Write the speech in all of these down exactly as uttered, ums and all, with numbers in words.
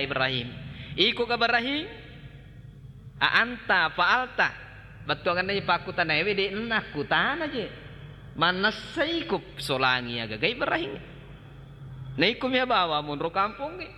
Ibrahim. Iko ga Ibrahim? A anta fa'alta? Bettuangenna pakkutanaiwe, de'na nakkutana je. Mannessai ko solangi agaga Ibrahim. Na iko mia bawa monro kampongnge.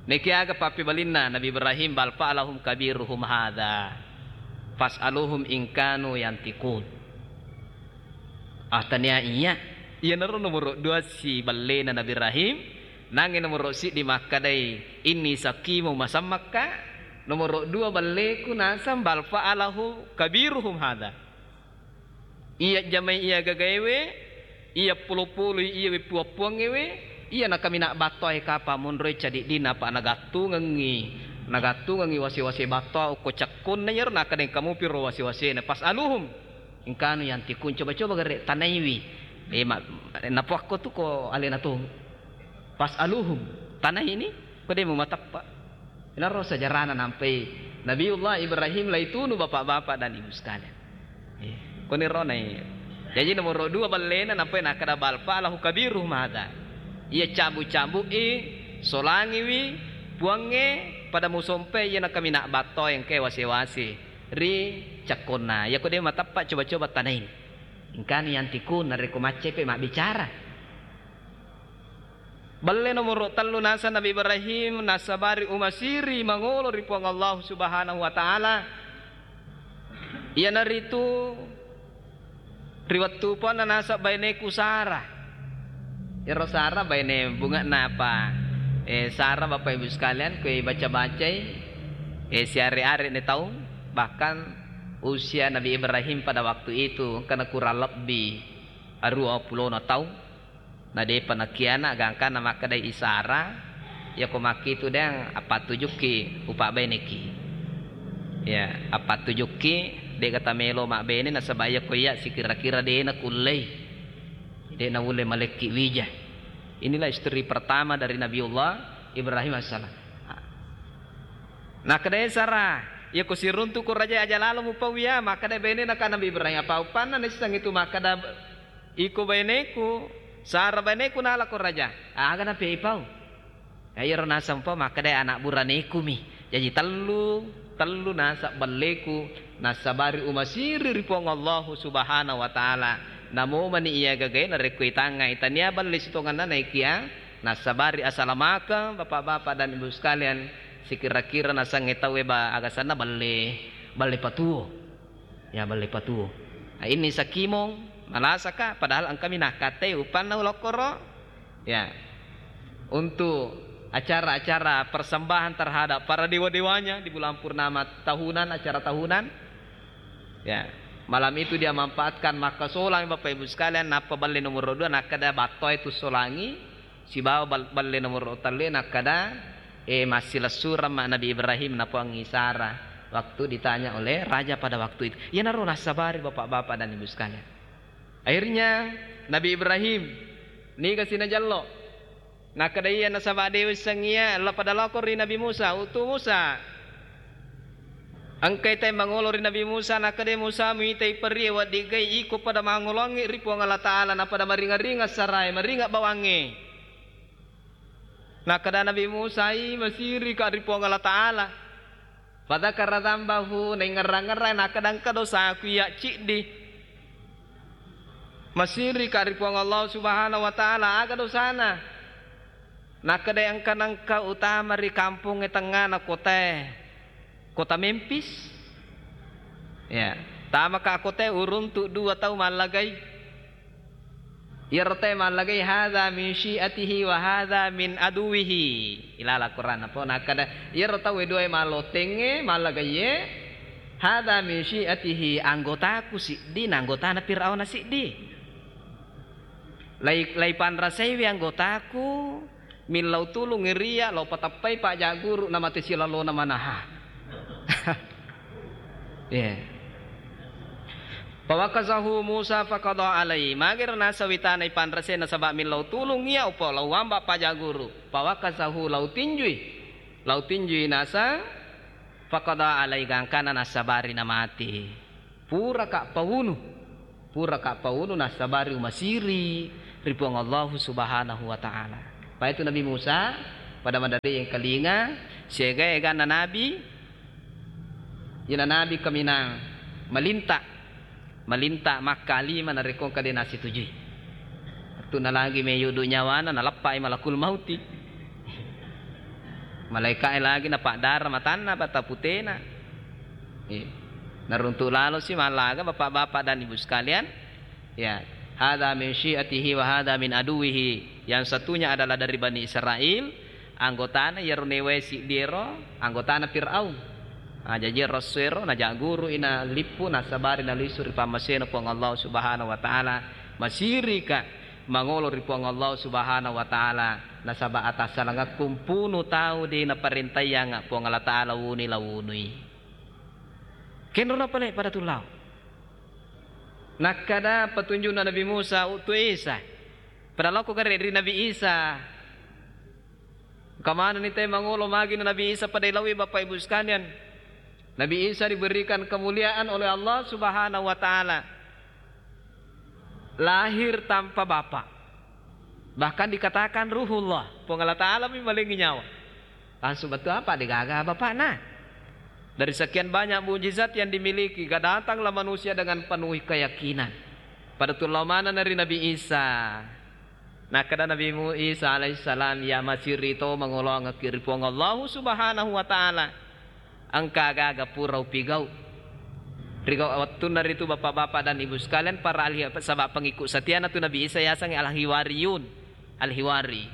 Naikiaga pappebalinna Nabi Ibrahim, "Bal fa'alahum kabiruhum hadza. Fas'aluhum in kanu yantiqun." Ah, tania iya. Iyanaro nomoro dua si ballena Nabi Ibrahim, nangnge nomoro siddi makkadai, "Inni saqimu masammakka." Nomoro dua balleku nasang, "Bal fa'alahu kabiruhum hadza." Iya jamai iya gagaewe, iya polo-poloi, iya weppuappuangngewe, iya nakamina battoae kapa monroe cadiddina, apa nagattungengngi, nagattungengngi wase-wase battoa okko cakkonna iyaro, nakkadeng kamupiro wase-wasena, "Fas'aluhum in kanu yantiqun." Coba-coba gare tanaiwi. Eh, ma-, napuakko tu ko alena tong. "Fas'aluhum." Tanaini, ko de mumateppa. Inaro sejarahna nampai Nabiullah Ibrahim laitunu, bapak-bapak dan ibu sekalian. Eh, koni ronai. Jaji nomoro dua ballena nampai nakkada, "Bal fa'alahu kabiruhum hadza." Iya cabu-cabu i, solangiwi, puangnge pada musompe iya nakamina battoa engke wase-wase ri cakkonna. Iya ko de mateppa, coba-coba tanaini. Engkani yantiqun, narekko maccepe mabbicara. Balle nomoro tellu naseng Nabi Ibrahim, nassabari umasiri mangolo ri Puang Allah Subhanahu wa Ta'ala. Iyanaritu ri wettu puanna naseng baineku Sarah. Iyaro Sarah baine bunge'na apa? Eh, Sarah, Bapak Ibu sekalian, kue baca-bacai, eh, siare-are ne taung, bahkan usia Nabi Ibrahim pada waktu itu engkana kurang lebbi aruwa pulona taung. Na depa nakiana, gangkanna makkedai Sarah, "Iyako makkitu deang appattujukki upabbaineki. Ya, appattujukki, de'ga tamelo mabbene nasaba iyako iya sikira-kira de nakullei, de naulle malekki wija." Inilah istri pertama dari Nabiullah Ibrahim alaihissalam. Nakkedai Sarah, "Iyako siruntu'ko raja aja lalo mupau iya." Makkeda bainena ka Nabi Ibrahim, "Apa uppanna naisseng itu makkeda iko baineku, Sarah baineku nalako raja? Aga napiai pau?" Ya, iyaro naseng pau makkeda anak buranekumi. Jaji tellu, tellu naseng balleku nassabari umasiri ri Puang Allahu Subhanahu wa Ta'ala. Namo mani iya gagae narekko itangngai, tania balle sitongenna naikia nassabari asalamakeng, Bapak-bapak dan Ibu sekalian, sikira-kira nasengnge tauwe ba-, agasanna balle, balle patuo. Ya, balle patuo. Nah, ini sakimong, malasaka, padahal engkami nakkatai uppanna ulokkoro. Ya. Untuk acara-acara persembahan terhadap para dewa-dewanya di bulan purnama tahunan, acara tahunan. Ya. Malam itu dia manfaatkan makkasolang, Bapak Ibu sekalian, nappa balle nomoro dua, nakkeda battoe tu solangi, sibawa bal-, balle nomoro tellu nakkeda, eh, massilessureng ma Nabi Ibrahim napuangngi Sarah waktu ditanya oleh raja pada waktu itu. Iyanaro nassabari, Bapak-bapak dan Ibu sekalian. Akhirnya Nabi Ibrahim niga sinajallo. Nakkeda iya nasaba de wisseng iya, la pada lako ri Nabi Musa, "Utu Musa." Engkai tai mangolo ri Nabi Musa, nakkeda Musa, "Muitai perie waddiggai iko pada mangoloangngi ri Puang Allah Ta'ala, napada maringa-ringa sarae, maringa bawangnge." Nakkeda Nabi Musa, "I, masirika ri Puang Allah Ta'ala." Fadzakara dzambahu, naingngerang-ngerang, nakkeda engka dosaku iya ciddi. Masirika ri Puang Allah Subhanahu wa Ta'ala, aga dosana? Nakkeda engka nengka utama ri kampongnge tengngana kotae, kota Memphis. Ya, tamaka kotae uruntu dua tau mallagai. Iyaro tauwe mallagai, "Hadza min syi'atihi wa hadza min aduwihi." Ilala Quran apa nakkeda, iyaro tauwe duae malottengnge mallagaiye, "Hadza min syi'atihi, anggotaku siddi na anggotana Firauna siddi. Lai, lai panrasaiwi anggotaku, millau tulung iriya, lao patappai pajak guru na mate silalona manaha." Iya. Fawakazahu Musa faqadha alai. Magero nasawitana ipanrase nasaba millau tulung iya upo lao wamba pajak guru. Fawakazahu, lao tinjui. Lao tinjui nasa faqadha alai, gangkana nasabari namati. Puraka paunu. Puraka paunu nassabari umasiri ri Puang Allahu Subhanahu wa Ta'ala. Paitu Nabi Musa, Pada maderri engkalinga, siaga-eganna Nabi, iyana Nabi kaminang malinta, malinta makkalima narekko engka de' nasitujui. Wettunna lagi meyudu nyawana, naleppai malakul mauti. Malaika'e lagi napaddara matanna, mata putena. Eh, naruntu' lalosi mallaga, Bapak-bapak dan Ibu sekalian. Ya, hadza min syi'atihi wa hadza min aduwihi. Yang satunya adalah dari Bani Israel, anggotana iyaro newai siddiero, anggotana Firaun. Ah, jaji ero essoero, najagguru'i, nalippu, nasabari, nalisu ri pammasena Puang Allah Subhanahu wa Ta'ala. Masirika mangolo ri Puang Allah Subhanahu wa Ta'ala, nasaba atassalangekku mpunu tau de' naparentayyangnga Puang Allah Ta'ala wunui, lawunui. Kenrona pale pada tullau. Nakkeda petunjukna Nabi Musa, u'tu Isa. Pada lao ko gare' ri Nabi Isa. Engka manenni tau mangolo magi na Nabi Isa pada ilaui, Bapak Ibu sekalian. Nabi Isa diberikan kemuliaan oleh Allah Subhanahu wa Ta'ala. Lahir tanpa bapak. Bahkan dikatakan Ruhullah, Puang Allah Ta'ala mi malengi nyawa. Langsung betul apa? De'gaga bapakna. Dari sekian banyak mujizat yang dimiliki, ga datanglah manusia dengan penuh keyakinan. Pada tullau manenna ri Nabi Isa. Nakkeda Nabi Mu-, Isa alaihissalam, "Ya masiri to mangoloangekki ri Puang Allahu Subhanahu wa Ta'ala. Engka aga-aga pura upigau." Ri gau-, wettunna ritu, Bapak-bapak dan Ibu sekalian, para ahli, saba' pengikut setiana tu Nabi Isa yasengnge al-Hiwariyun, al-Hiwari.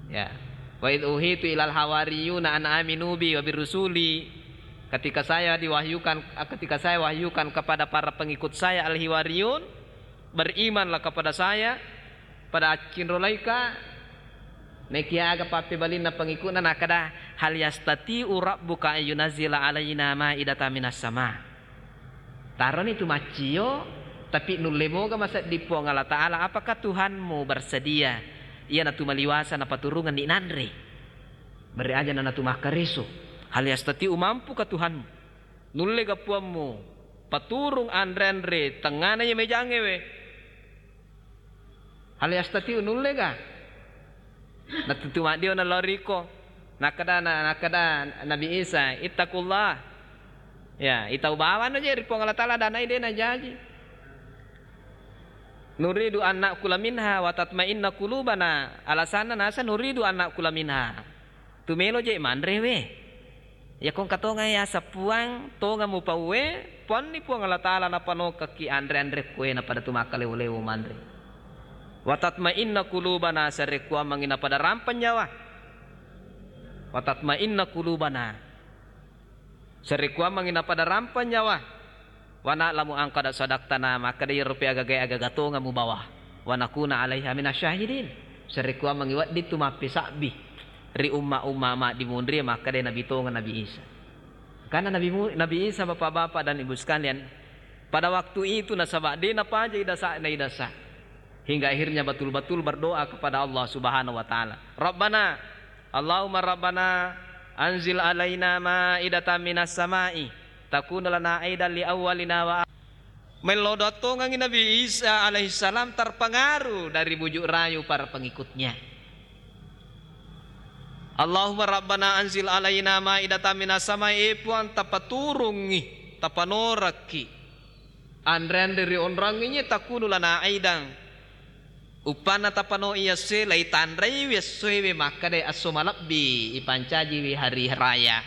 Ya. "Wa idz uhitu ilal hawariyuna an aminu bi wa birusuli." Ketika saya diwahyukan, ketika saya wahyukan kepada para pengikut saya al-Hiwariyun, "Berimanlah kepada saya." Pada accinrolaika, nekia aga pappebalinna pengikutna, nakkeda, "Hal yastati'u rabbuka ayyunazzila alaina ma'idatan minas sama'?" Taroni tu maccio, tapi nulle moga masedding Puang Allah Ta'ala, apakah Tuhanmu bersedia iyanatu maliwasa napaturungenni nanre? Bere aja nanatu makkareso. Hal yastati'u, mampuka Tuhanmu? Nullega Puammu paturung anre-anre tengngana iya mejangnge we? Hal yastati'u, nullega? Natuttu maddio nalao riko. Nakkeda na-, nakkeda Nabi Isa, "Ittaqullah." Ya, itau bawanna je ri Puang Allah Ta'ala, danai de' najaji. "Nuridu an na'kula minha wa tatma'inna qulubana." Alasanna naseng, "Nuridu an na'kula minha." Tu melo je manre we. Iyako engka tonga yaseng Puang, tonga mupauwe, puanni Puang Allah Ta'ala napanokekki anre-anre kuena pada tu makkalewo-lewo manre. "Wa tatma'inna qulubana," sarekkuammengngi napada rampeng nyawa. "Wa tatma'inna qulubana." Sarekkuammengngi napada rampeng nyawa. "Wa na'lamu an qad sadaqtana," makkeda iyaro pe agaga-, agaga tonga mubawa. "Wa nakuna alaiha minasyahidin." Sarekkuammengngi wedding tu mappesabbi ri umma-umma maddimunri, makkeda Nabi tonga Nabi Isa. Karena Nabi Mu-, Nabi Isa, Bapak-bapak dan Ibu sekalian, pada waktu itu nasaba de' napaja idasa, naidasa. Hingga akhirnya betul-betul berdoa kepada Allah Subhanahu wa Ta'ala. "Rabbana, Allahumma Rabbana, anzil alaina ma'idatan minas sama'i, takunu lana aidan li awwalina wa." Mello doa tongengngi Nabi Isa alaihissalam terpengaruh dari bujuk rayu para pengikutnya. "Allahumma Rabbana anzil alaina ma'idatan minas sama'i," e Puang, tapaturungngi, tapanorakki anre-anre ri onrongngé, takunu lana aidan. Uppanna tapano iya essoé, laitanraiwi essoéwé, makkedai esso malebbi, ipancajiwi hari raya.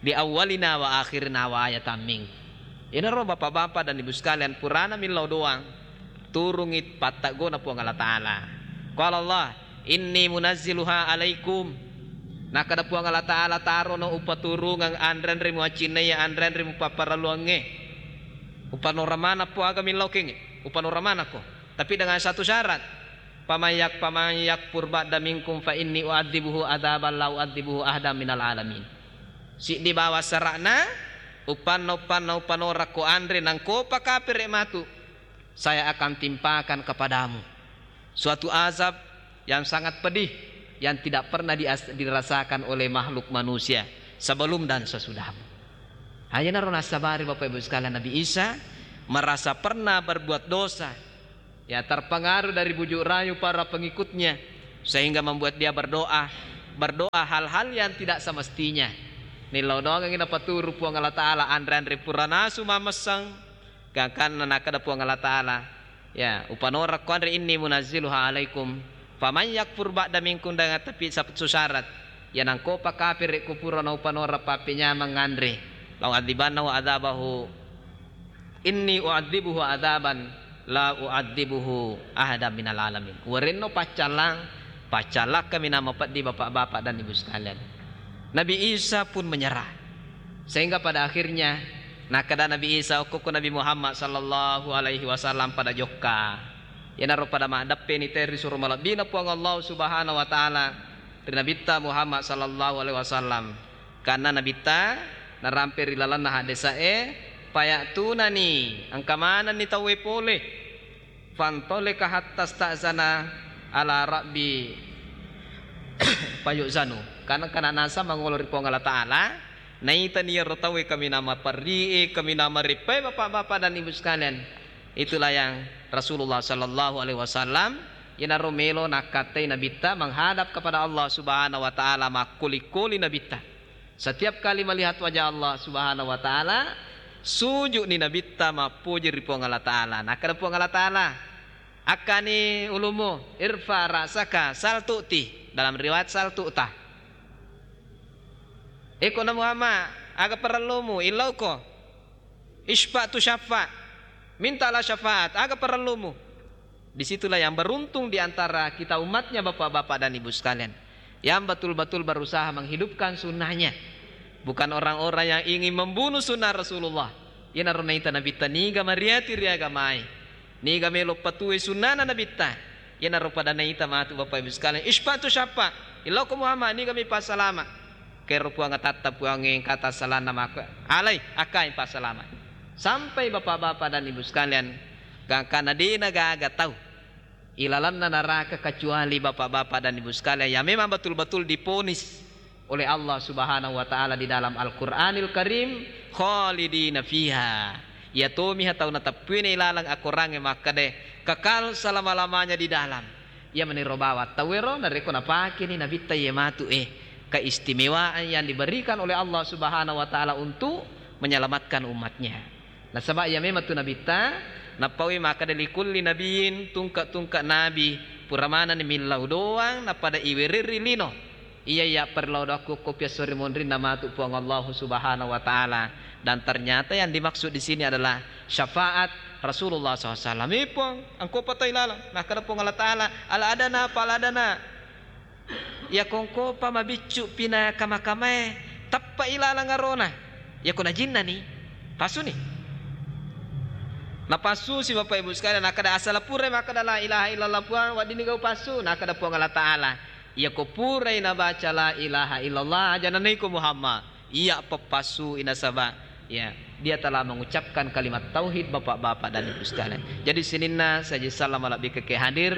Li awwalina wa akhirina wa ayatan mink. Iyanaro, Bapak-bapak dan Ibu sekalian, purana millau doang, turungngi patteggona Puang Allah Taala. Qala Allah, "Inni munazziluha alaikum." Nakkeda Puang Allah Taala, "Tarono upaturungeng anre-anre muaccinnaiyé, anre-anre mupapparelluangngé. Upanora manappo aga millau kéngngé, upanora manakko. Tapi dengan satu syarat, faman yak-, faman yakfur ba'da minkum fa inni u'adzibuhu adzaban la u'adzibuhu ahadan minal alamin." Siddi bawang sara'na, uppanna, uppanna upanorakko anre nangkopa kapere' matu, saya akan timpakan kepadamu suatu azab yang sangat pedih, yang tidak pernah dias-, dirasakan oleh makhluk manusia sebelum dan sesudahmu. Ayanaro nassabari, Bapak Ibu sekalian, Nabi Isa merasa pernah berbuat dosa, ya, terpengaruh dari bujuk rayu para pengikutnya, sehingga membuat dia berdoa, berdoa hal-hal yang tidak semestinya. Nillau doangengngi napaturu Puang Allah Ta'ala, anre-anre pura nasu mamesseng, gangkanna nakkeda Puang Allah Ta'ala, ya, upanora ko anre, inni munazziluha alaikum, faman yakfur ba'da minkum, dengan tapi satu syarat, ya, nangkopa kapere ko pura naupanora pappenyameng anre, lau adzibannahu adzabahu Inni u'adzibuhu adzaban la u'adzibuhu ahadan minal alamin. Warenno paccallang, paccallakka minang mapeddi bapak-bapak dan ibu sekalian. Nabi Isa pun menyerah. Sehingga pada akhirnya nakkeda Nabi Isa, okkokko Nabi Muhammad sallallahu alaihi wasallam pada jokka. Iyanaro pada maddeppeni te ri suro malebbina Puang Allah Subhanahu wa Ta'ala ri Nabitta Muhammad sallallahu alaihi wasallam. Kanna Nabitta narampe ri lalenna hadesa'e, "Faya'tunani, engka manenni tauwe pole. Fantoleka hatta sta'zana ala rabbi fayu'zanu." Kanna, kanna nasa mangolo ri Puang Allah Ta'ala, naitani iyaro tauwe kaminang maperri'e, kaminang mareppae, bapak-bapak dan ibu sekalian. Itulah yang Rasulullah sallallahu alaihi wasallam, iyanaro melo nakkattai Nabitta menghadap kepada Allah Subhanahu wa Ta'ala, makkoli-koli Nabitta. Setiap kali melihat wajah Allah Subhanahu wa Ta'ala, sujudni Nabitta mappoji ri Puang Allah Ta'ala. Nakkeda Puang Allah Ta'ala, "Akkani ulumu, irfa ra'saka, sal tu'ti." Dalam riwayat, "Sal tu'ta." Eko na Muhammad, aga parellumu? Illauko. Isyfa' tu syaffa'. Mintalah syafaat. Aga parellumu? Disitulah yang beruntung di antara kita umatnya, bapak-bapak dan ibu sekalian, yang betul-betul berusaha menghidupkan sunnahnya. Bukan orang-orang yang ingin membunuh sunnah Rasulullah. Iyanaro naita Nabitta niga mariati ri agamae, niga melo patue sunnana Nabitta. Iyanaro pada naita matu, bapak ibu sekalian, "Isyfa' tu syaffa'. Illauko Muhammad, niga mi passalama." Kero Puang atatta Puangnge engkata salanna maka alai akkai passalama. Sampai bapak-bapak dan ibu sekalian, gangkana dena gaga tau ilalanna naraka kecuali bapak-bapak dan ibu sekalian yang memang betul-betul diponis oleh Allah Subhanahu wa Ta'ala di dalam Al-Quranil Karim, "Khalidina fiha." Iya tomiha tau nateppuina ilalang akorangnge makkeda, kekal selama-lamanya di dalam. Iya meniro bawang tauwero narekko napakeni Nabitta iye matu e, keistimewaan yang diberikan oleh Allah Subhanahu wa Ta'ala untuk menyelamatkan umatnya. Nasaba iya memang tu Nabitta, nappaui makkeda, "Likulli nabiyyin," tungke-tungke nabi, pura manenni millau doang, napada iwererri lino. Iya, iya, perlau doang kukko piassori monrinna matu Puang Allahu Subhanahu wa Ta'ala. Dan ternyata yang dimaksud di sini adalah syafaat Rasulullah sallallahu alaihi wasallam. "Eh, Puang, engko patai lalang." Nakkeda Puang Allah Ta'ala, "Al adana fal adana." Iya kongkopa mabiccu pina kama-kamae, teppa ilalang arona. Iya ko najinnani, pasuni. Napassusi, Bapak Ibu sekalian, nakkeda asala purai makkeda la ilaha illallah Puang, weddinni gau passu, nakkeda Puang Allah Ta'ala, iya ko purai nabaca la ilaha illallah, aja nanaiko Muhammad. Iya, peppassu nasaba, ya, dia telah mengucapkan kalimat tauhid, Bapak-bapak dan Ibu sekalian. Jadi sininna saja salam malabbi ke hadir.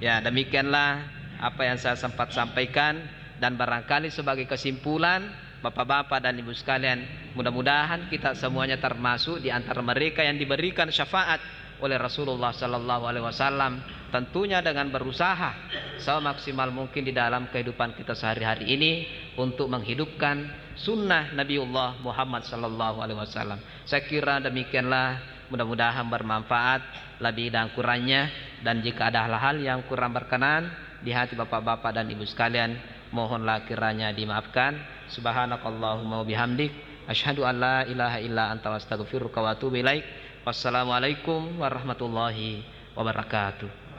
Ya, demikianlah apa yang saya sempat sampaikan, dan barangkali sebagai kesimpulan, Bapak-bapak dan Ibu sekalian, mudah-mudahan kita semuanya termasuk di antara mereka yang diberikan syafaat oleh Rasulullah sallallahu alaihi wasallam, tentunya dengan berusaha semaksimal mungkin di dalam kehidupan kita sehari-hari ini untuk menghidupkan sunnah Nabiullah Muhammad sallallahu alaihi wasallam. Saya kira demikianlah, mudah-mudahan bermanfaat lebih dan kurangnya, dan jika ada hal-hal yang kurang berkenan di hati Bapak-bapak dan Ibu sekalian, mohonlah kiranya dimaafkan. Subhanakallahumma wa bihamdik, asyhadu an la ilaha illa anta, astaghfiruka wa atubu ilaik. Wassalamualaikum warahmatullahi wabarakatuh.